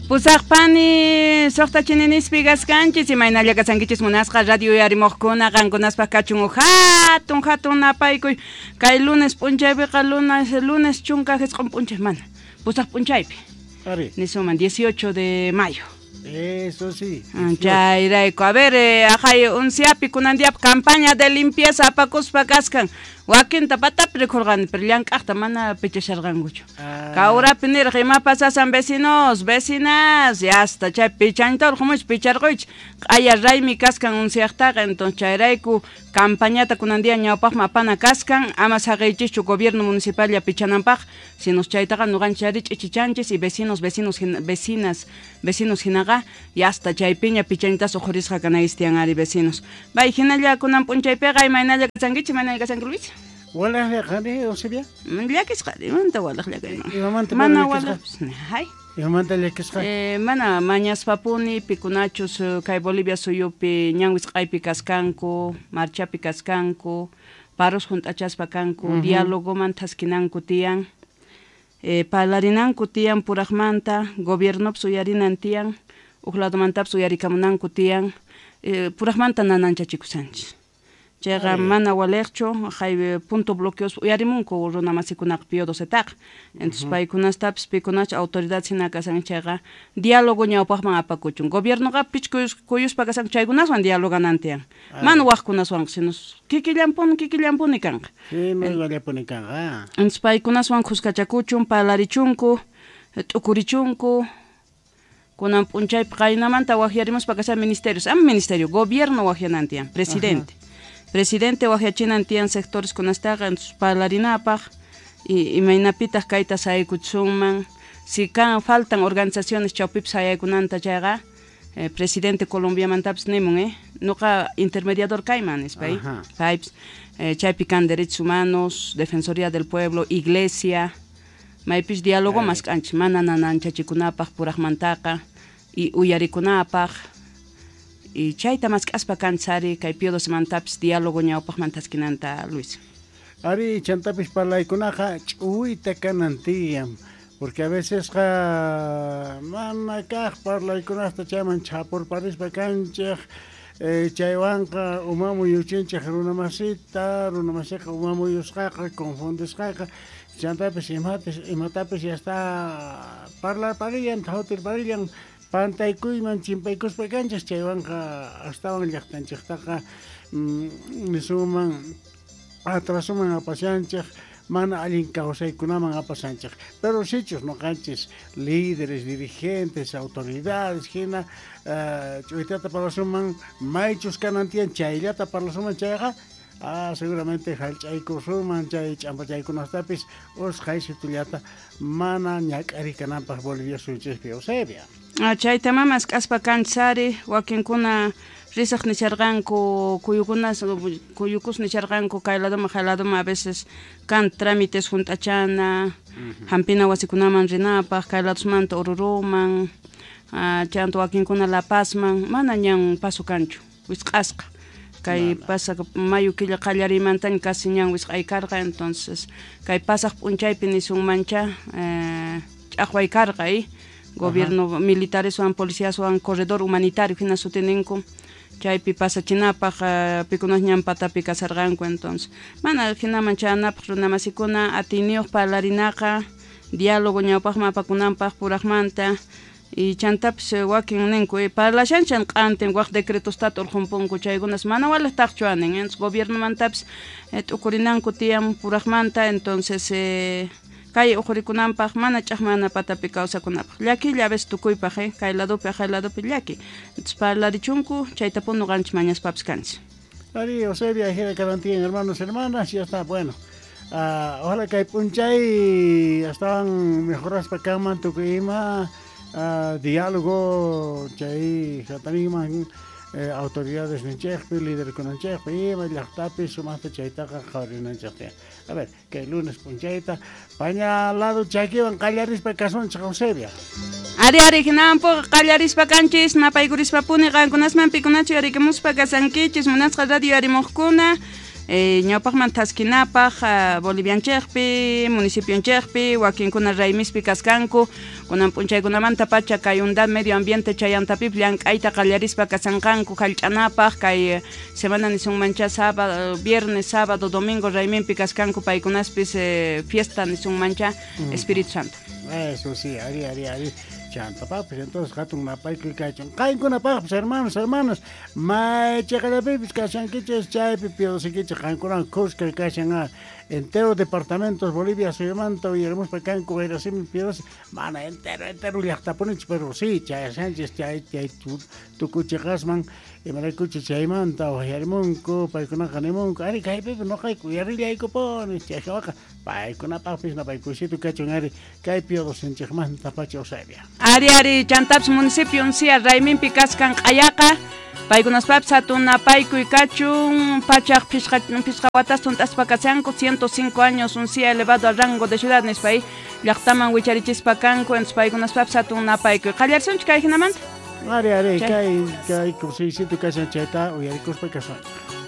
Pusaqpani suqta chininispi kaskanchis imaynalla kasankichis munasqa radio uyarimoqkuna qankunaspaq kachun uj hatun hatun napaykuy kay lunes p'unchaypiqa lunes lunes 19 p'unchay mana pusaq p'unchaypi Ari. Nisuman 18 de mayo. Eso sí. Chayrayku, a ver, ajay unsiapi kunan diapi campaña de limpieza apakuspa kaskan. Wakinta patapi rikhurqani, pero llank'aqta mana pichasharqankuchu. Kawrapi niraq ima pasasan vecinos, vecinas, y hasta chay pichanita urqumuch picharquychik. Q'aya raymi kaskan unsiaqtaqa, entonces chayrayku campañata kunan día ñawpaqman apana kaskan, ama saqiychischu gobierno municipal ya pichananpaq, sino chaytaqa ñuqanchik ari ch'ichichanchis y vecinos, vecinos, vecinas, vecinos hinaqa, y hasta chaypiña pichanitas uqhurisqa kanayis tiyan ari vecinos. Bay hinalla kunan p'unchaypiqa imaynalla kasankichik, imaynalla kasanki Luis? Walaj qani, Eusebia? Llakisqa, imamanta walaj llakayman? Imamanta Mana llakisqa? walaj, hay. Imamanta llakisqa? Mana mañaspapuni pikunachus kay Bolivia suyupi ñan wisq'aypi kaskanku, marchapi kaskanku, paros junt'achaspa kanku, diálogoman thaskinanku tiyan, parlarinanku tiyan puraqmanta, gobiernopis uyarinan tiyan, uj ladomantapis uyarikamunanku tiyan, puraqmanta nananchachikushanchis. Chayqa mana waliqchu, jay punto bloqueos uyarimunku runa masikunaqa Pío XII-taqa. Entonces paykunastapis pikunachu autoridad hina kasan chayqa diálogo ñawpaqman apakuchun. Gobiernoqa pich kuyuspa kasan chaykunaswan dialoganan tiyan. Mana waqkunaswanqa, sino kikillampuni, kikillampuni kanqa. Sí, no igualapuni kanqa. Entonces paykunaswan khuskachakuchun, parlarichunku, t'ukurichunku. Kunan p'unchaypi qaynamanta waqyarimuspa kasan ministerios, ama ministerio, gobierno waqyanan tiyan, presidente. Presidente waqyachinan tiyan sectores kunastaqa, entonces parlarinapaq, y imaynapitaq kayta sayaykuchisunman, si kan faltan organizaciones chawpipi sayaykunanta chayqa, presidente Colombiamantapis nimun, Noqa intermediador kayman nispa, Paypis, chaypi kan derechos humanos, defensoría del pueblo, iglesia, maypis diálogo mask'anchis, mana nananchachikunapaq puraqmantaqa, y uyarikunapaq, y chayta mask'aspa kanchari kay Pío XII-mantapis diálogo ñawpaqman thaskinanta, Luis. Ari, chantapis parlaykunaqa ch'uwita kanan tiyan, porque a veces qa mana kaq parlaykunasta chayman chhapurparispa kanchik, chaywanqa umamuyuchinchik runamasita, runamasiqa umamuyusqaqa, confundisqaqa, chantapis imatapis ya está parlarparillan, thawtirparillan, pantaykuyman chimpaykuspa kanchik, chaywanqa astawan llaqtanchiktaqa, nisuman atrasuman apashanchik, mana allin kawsaykunaman apashanchik. Pero sichus noqanchis líderes, dirigentes, autoridades hina, ch'uytata parlasunman, maychus kanan tiyan chayllata parlasunman chayqa, seguramente hallch'aykusunman chay ch'ampachaykunastapis usqhaysitullata mana ñak'ari kananpaq Bolivia suyunchispi, Eusebia. Chayta mamas k'aspa kanchari, wakinkuna risaq nisharqanku, kuyukunas, kuyukus nisharqanku, kay ladoman, jay ladoman, a veces kan trámites junt'achana, hampina wasikunaman rinapaq, kay ladosmanta Oruruman, chanta wakinkuna La Pazman, mana ñan paso kanchu, wisq'asqa. Kay pasaq mayo killa qallarimantaña casi ñan wisq'ay karqa, entonces kay pasaq p'unchaypi nisunmancha, ch'aqway karqa, Gobierno militareswan, policiaswan, corredor humanitario hina sutininku, chaypi pasachinapaq, pikunas ñan patapi kasarqanku, entonces mana hinaman chayanapaq runamasikuna atiyniyuq parlarinaqa, diálogo ñawpaqman apakunanpaq puraqmanta, y chantapis wakin ninku, parlashanchan q'antin waq decretostata urqhunpunku, chaykunas mana waliqtaqchu anin, entonces gobiernomantapis, t'ukurinanku tiyan puraqmanta, entonces, kay uqhurikunanpaq mana ch'aqmana patapi kawsakunapaq. Llakilla a veces tukuypaq, kay ladopi, jay ladopi llaki. Entonces parlarichunku, chaytapun ñuqanchik mañaspapis kanchik. Ari, Eusebia, jira karantin, hermanos, hermanas, ya está, bueno. Ojalá kay p'unchay astawan mejoraspa kanman tukuy ima, diálogo chay hatarinman, autoridades ninchikpi, líderkunanchikpi, ima llaqtapi sumaqta chaytaqa qhawarinanchik tiyan. A ver, kay lunes p'unchayta paña lado chakiwan qallarispa kasunchik, Eusebia. Ari, ari, hinampuqa qallarispa kanchis, napaykurispa puni qankunasman pikunachu yarikamuspa kasankichis, munasqa radio yarimuqkuna. Ñawpaqman thaskinapaq Bolivianchikpi, municipionchikpi, wakinkuna raymispi kaskanku, kunan p'unchaykunamanta pacha kay Unidad Medio Ambiente chayantapip llank'ayta qallarispa kasanqanku jallch'anapaq kay semana nisunmancha sábado, viernes, sábado, domingo rayminpi kaskanku paykunaspis fiesta nisunmancha Espíritu Santo. Eso sí, ari, ari, ari. Chantapapis, entonces hatun napaykuy kachun. Qankunapaqpis, hermanos, hermanas, may chaqallapipis kashankichis, chaypi piodosikichis, qankunan kuska kashan, entero departamentos Bolivia suyumanta uyarimuspa kanku wayrasimi piodosi, mana entero, entero llaqtapunich, pero sí, chayashanchis, chay, chay tukuchiqasman, imaraykuchis chaymanta uyarimunku, paykunaqa nimunku, ari kaypipi noqayku uyarillaykupuni, chaykawaqa paykunapaqpis napaykusitu kachun, ari kay piodosinchikmanta pacha Eusebia. Ari, ari, chantapis municipio uncia rayminpi kaskan q'ayaqa, paykunaspapis hatun napaykuy kachun, pachaq pishqa watas tunt'aspa kashanku, 105 años uncia elevado al rango de ciudad nispa ahí, llaqtaman wicharichispa kanku, entonces paykunaspapis hatun napaykuy. Qallarisunchik kay hinamanta? Ari, ari, Chay. kay, kay kusiysitu kashan chayta uyarikuspa kasunchik.